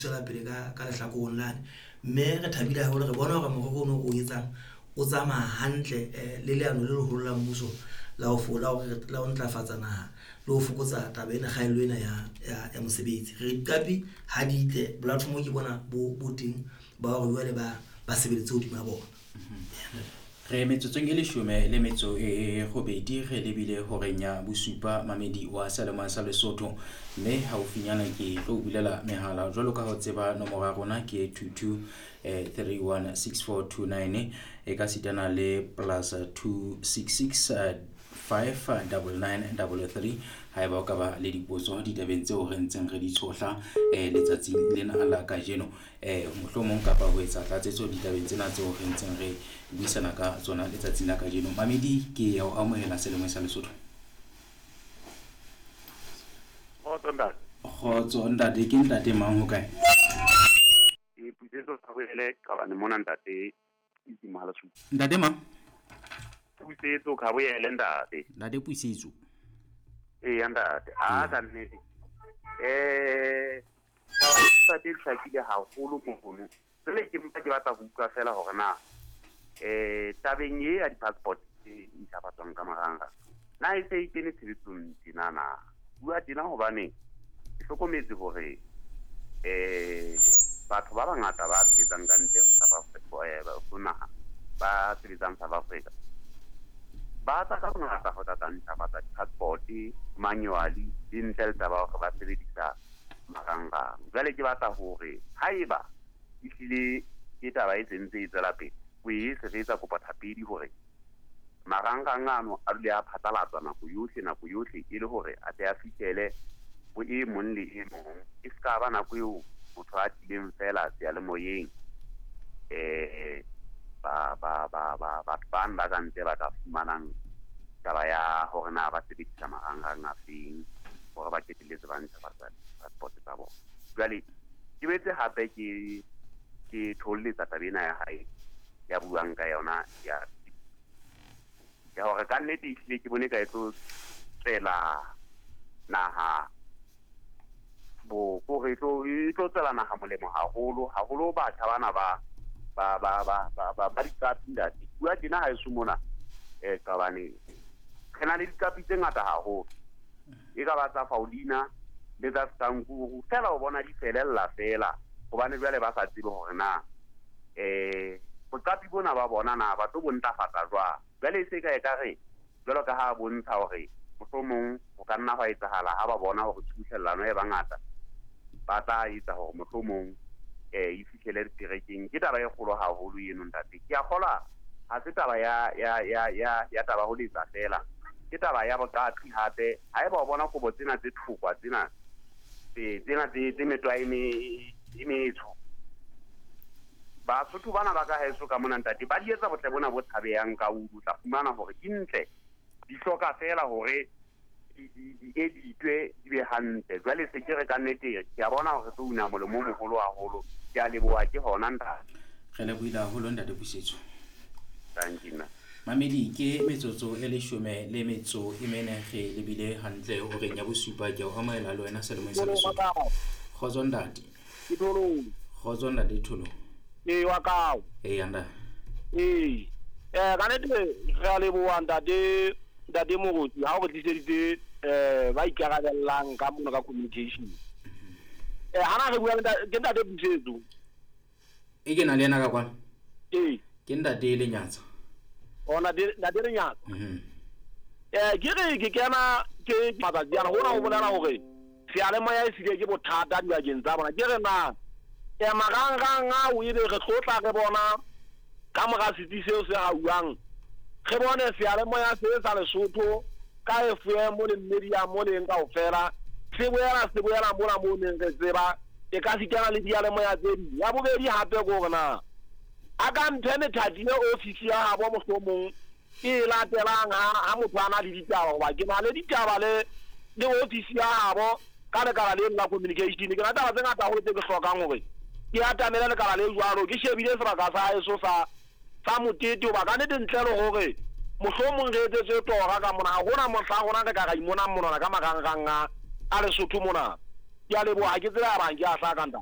Tswela pele ka lehlakoreng lane, mme re thabile haholo re bona hore morero ono o etsang o tsamaya hantle le leano le leholo la mmuso la ho la hore la ho ntlafatsa naha le ho fokotsa taba ena kgaello ena ya mosebetsi. Re diqapi ha di tle platform ke bona bo teng ba hore jwale ba sebeletse hodima bona. Re metsotsong e leshome le metso e robedi re lebile horeng ya bosupa mamedi wa Seyalemoya sa Lesotho. Mme haufinyana ke tlo bulela mehala jwalo ka ho tseba nomoro ya rona ke 22 316429 e ka sitana le plus 266 59933 haeba o ka ba le dipotso ditabeng tseo re ntseng re di tshohla letsatsing lena la kajeno. Mohlomong kapa ho etsa tlatsetso ditabeng tsena tseo re ntseng re buisana ka tsona letsatsing la kajeno. Mamedi ke ya o amohela Seyalemoya sa Lesotho. Kgotso ntate. Kgotso ntate, ke ntate mang ho kae? Ke Pusetso Khaboele Qabane mona ntate itse mohala su. Ntate mang? Pusetso Khaboele ntate. Ntate Pusetso. Ee ntate. A ka nnete. Taba e hlakile haholo mohono. Jwale ke mpa ke batla ho utlwa fela hore na tabeng e ya di-passport e ntjhafatswang ka marangrang na e se e kene tshebetsong tjena na? Bua tjena hobane ke hlokometse hore batho ba bangata ba sebetsang ka ntle ho South Africa, ho naha, ba sebetsang South Africa ba tla ka bongata ho tla tla ntjhafatsa di-passport manually le ntle le taba hore ba sebedisa marangrang. Jwale ke batla hore haeba ehlile ke taba e sentse e tswela pele, o e se re etsa kopo thapedi hore marangrang ano a dule a phatlalatswa nako yohle e le hore a tle a fihlele ho e mong le e mong. E se ka ba nako eo motho a tlileng fela seyalemoyeng ba ba ba ba batho bano ba ka ntle ba ka fumanang taba ya hore na ba sebedisa marangrang a feng hore ba qetelletse ba ntjhafatsa di-passport tsa bona. Jwale ke boetse hape ke thoholetsa taba ena ya hae ya buang ka yona ya hore ka nnete ehlile ke bone ka e tlo tswela naha bo kore e tlo tswela naha molemo haholo haholo batjha bana ba ba ba ba ba ba ba diqapi ntate. Bua tjena haeso mona Qabane re na le diqapi tse ngata haholo, e ka ba tsa Faulina le tsa Stankuru fela o bona di felella fela hobane jwale ba sa tsebe hore na boqapi bona ba bona na ba tlo bo ntlafatsa jwang. Jwale e se ka e ka re jwalo ka ha bontsha hore mohlomong ho ka nna hwa etsahala ha ba bona hore tshubuhlellano e bangata ba tla etsa hore mohlomong e fihlele diterekeng. Ke taba e kgolo haholo eno ntate. Ke a kgolwa ha se taba ya ya ya ya ya taba ho letsa fela, ke taba ya boqapi hape. Haeba o bona kobo tsena tse thokwa tsena tsena tse metwa e metsho, Basotho bana ba ka haeso ka mona ntate ba di etsa botle bona bo tshabehang ka ulu, tla fumana hore di ntle, di hloka fela hore di editwe di be hantle. Jwale se ke re ka nnete ke a bona hore tlo una molemo o moholo haholo. Ke a leboha ke hona ntate. Re lebohile haholo ntate Pusetso. Thank you. Mamedi ke metsotso e leshome le metso e mene re lebile hantle horeng ya bosupa. Ke o amohela le wena Seyalemoyeng sa Lesotho. Kgotso ntate. Ke Tholong. Kgotso ntate Tholong. Ee wa kao. Ee ntate. Ee. Ka nnete re a leboha ntate ntate Moruti ha o re tliseditse ba ikarabellang ka mona ka communication. Hana re bua ke ntate Pusetso. E ke na le yena ka kwana. Ee. Ke ntate Lenyatsa. Ona ntate Lenyatsa. Ke re ke kena ke matsatsi ana hona ho bolela hore seyalemoya e sile ke bothata dibakeng tsa bona. Ke re na marangrang ao ebe re tlotla re bona ka mora setsi seo se hauwang, re bone seyalemoya se sa Lesotho ka FM le media mo leng kaofela se boela mona mo neng re tseba e ka sitana le diyalemoya tse ding. Ya bobedi hape ke hore na a ka mphe methati e ofisi ya habo mohlomong e latelang ha motho a na le ditaba, hoba ke na le ditaba le ofisi ya habo ka lekala leno la communication. Ke na taba tse ngata haholo tse ke hlokang hore ke atamele lekala le jwalo. Ke shebile sebaka sa haeso sa motete, hoba ka nnete ntle le hore mohlomong re etsetswe tora ka mona, ha hona mohla rona re ka ra imonang monwana ka marangrang a Lesotho mona. Ke a leboha, ke tsebe a bang ke a hlaka ntate.